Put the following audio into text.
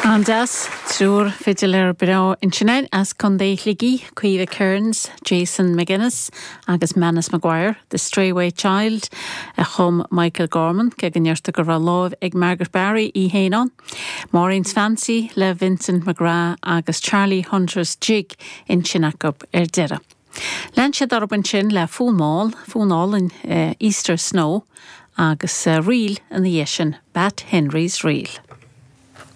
An-deas. Triúr fidiléir breá ansin as Contae Shligigh, Caoimhe Kearns, Jason McGuinness agus Manus Maguire, The Strayway Child a chum Michael Gorman, cé go ndeirtear go raibh lámh ag Margaret Barry í féin ann. Maureen's Fancy le Vincent McGrath agus Charlie Hunter's Jig ansin acu ar deireadh. Lean siad orthu ansin le fonn mall, fonn álainn Easter Snow agus ríl ina dhiaidh sin, Bat Henry's Reel.